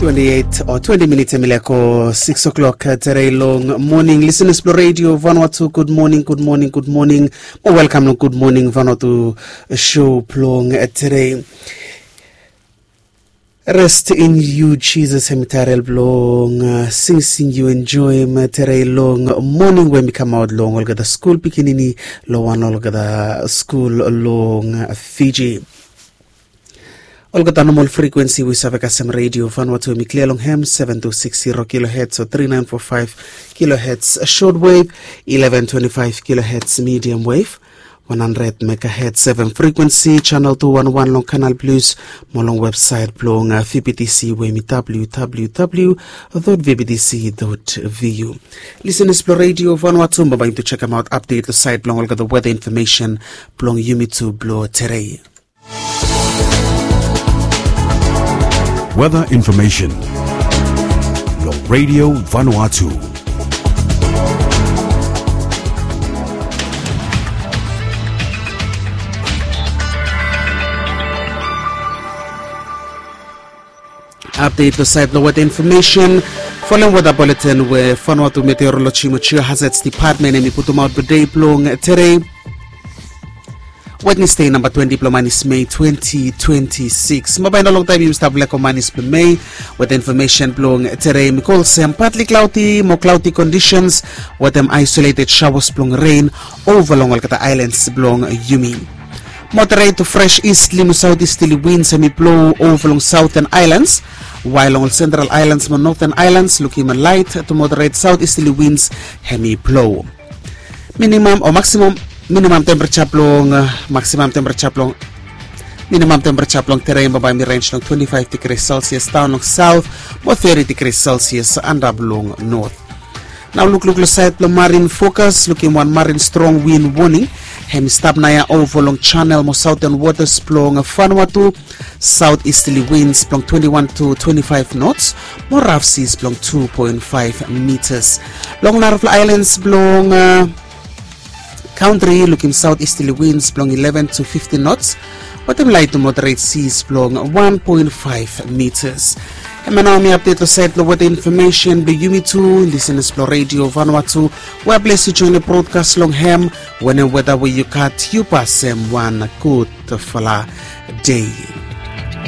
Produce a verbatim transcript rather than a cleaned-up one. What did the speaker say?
Twenty-eight o twenty minits em i leko six o'clock, eh, terei long moning. Listeners blong Radio Vanuatu, good morning, good morning, good morning. Mo welcome long Good Morning Vanuatu show blong, eh, terei. Rest in you, Jesus, em i tael blong, eh, singsing yu enjoem, eh, terei long moning we mi kamaot long olgeta skul pikinini long wan olgeta skul long, eh, Fiji. Olgeta normal frikuensi we i save kasem Radio Vanuatu em i klia long hem, seven two six zero kilohertz o three nine four five kilohertz short wave, eleven twenty-five kilohertz medium wave, one hundred megahertz F M frikuensi, channel two one one long Canal Plus, mo long website blong, uh, V B T C we em i W W W dot V B T C dot V U. Listeners blong Radio Vanuatu, bambae yumi tu check out update long sait blong olgeta weather information blong yumi tu blong terei. Weather information long Radio Vanuatu. Update long sait blong weather information. Folem weather bulletin we Vanuatu Meteorology mo Geohazards Department em i putumaot blong dei blong terei, Wednesday, namba twenty blong manis Mei twenty twenty-six. Bambae i no longtaem yumi stap leko manis blong Mei. Weather information blong terei em i go olsem, partly cloudy mo cloudy conditions wetem isolated showers blong rain ova long olgeta islands blong yumi. Moderate to fresh easterly mo southeasterly winds em i blo ova long Southern Islands, wael long ol Central Islands mo Northern Islands lukim light to moderate southeasterly winds em i blo. Minimum o maximum, minimum temperature blong, uh, maximum temperature blong, minimum temperature blong terei bambae em i range long twenty-five degrees Celsius daon long south mo thirty degrees Celsius antap long north. Nao lukluk long sait blong marine forecast, lukim wan marine strong wind warning em i stap naoia ova long channel mo southern waters blong Vanuatu, southeasterly winds blong twenty-one to twenty-five knots mo rough seas blong two point five meters. Long narafala islands blong, uh, country lukim southeasterly winds blong eleven to fifteen knots wetem light to moderate seas blong one point five meters. Hemia nao mi update long sait blong weather information blong yumi tu, listeners blong Radio Vanuatu, we yu blong join long broadcast long hem. Wanem weather we yu gat, yu pasem wan gudfala dei.